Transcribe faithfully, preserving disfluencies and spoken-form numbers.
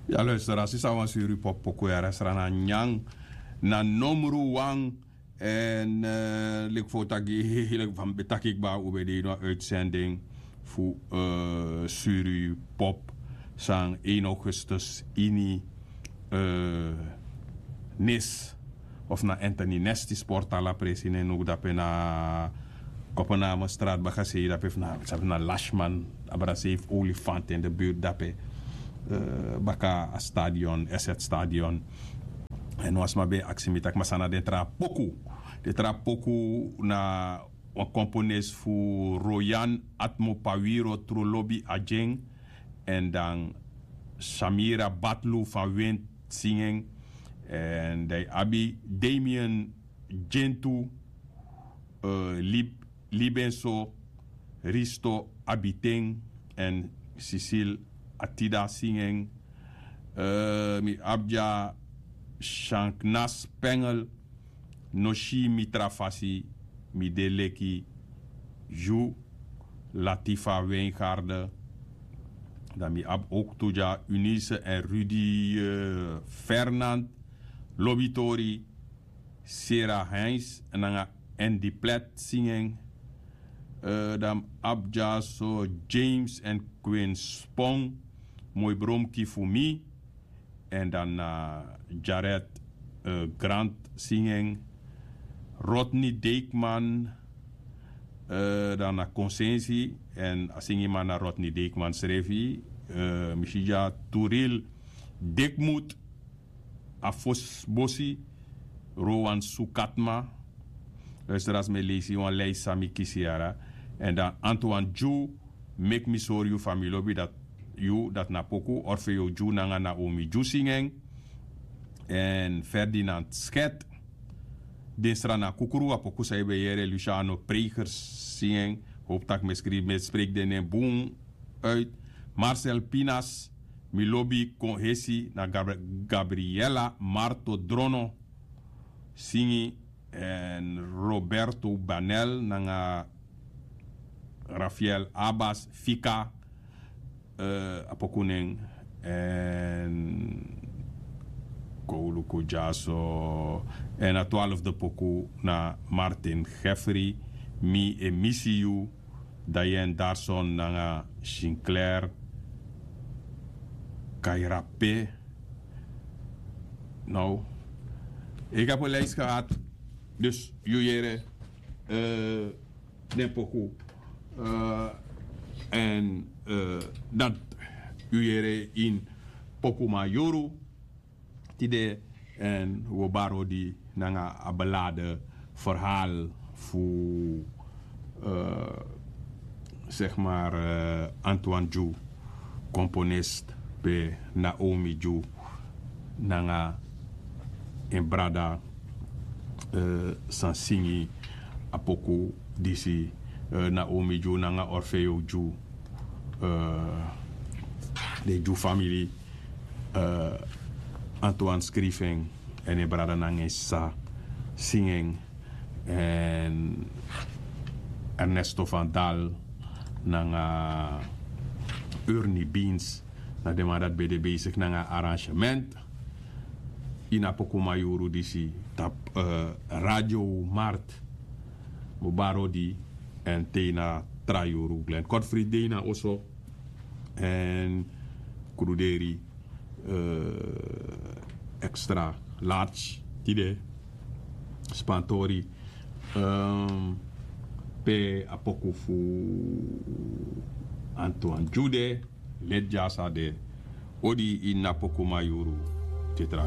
Ya luister, a sisa wan suri pop poku yara srana nyan na nomru wan. En leki fo taki leki fa mi ben taki kba un ben de ini wan uitzending fu suri pop san één augustus ini nis of na Anthony Nesty sport ala presi nen noku dape na kopename straat baka sei dape fu na sabi na lashman abra sei fu olifant in de buurt dape baka a stadion eset stadion. En wan sma ben e aksi mi taki masana den tra poku den tra poku na wan komponis fu royan atmo pawiro tru lobi agen. En dan samira batlu fan wint singen. En dan yu abi damien gentu uh, lib, libenso risto abiten en sisil atida singen. Uh, mi abja shanknas pengel no si mi tra fasi mi de leki yu latifa weingarde. Dan mi abi ook tu dya unise en rudy uh, fernand lobitori sera heinz nanga en di plet singen. Uh, dan abi dya so james en queen spong moi bromki fu mi. En dan na jared uh, grant singen rodney deikman. Uh, dan na konsensi en a singiman na rodney deikman srefi. Uh, mi si dya turil dikmut a fosi bosi rowan sukatma. Luister a sma e leisi wan lei san mi kisi yara. En dan antoine dyu meki mi sori yu fa mi lobi dati yu dati na poku orfeo dyu nanga naomi dyu singen. En ferdinand sket dinstra na kukru a poku san yu ben yere luciano pregers singen. Hopu tak' mi e skrifi mi e spreki den nen bun. Uit marcel pinas mi lobi kon hesi na gabriela marto drono singi. En roberto banel nanga rafael abas fika. A poku nen en kowluku dyaso. En a twalfde poku na martin jeffrey mi e misi yu. Dayen darson nanga sinclair kairape. Nou, ik heb een lijst gehad. Dus yu yere uh, den poku uh, en uh, dat yu yere in poku mayuru. Tide en we bari odi nanga a belade verhaal fu uh, zeg maar uh, antoine dyu komponist pe naomi dyu nanga en brada uh, san singi a poku disi uh, naomi dyu nanga orfeo dyu uh, den dyu famili uh, antoine skrifi en en en brada nanga en sisa singi en en ernesto van dal nanga urni beans. Na den man dati ben de besik nanga arrangement ini a poku mayuru disi tapu uh, radio mart. Mo bari odi en te na tra yuru glen kort fri de na oso. En kruderi uh, extra large tide spantori um, pe a poku fu antoine dyu de leti dya sa de odi ini a poku mayuru. Te tra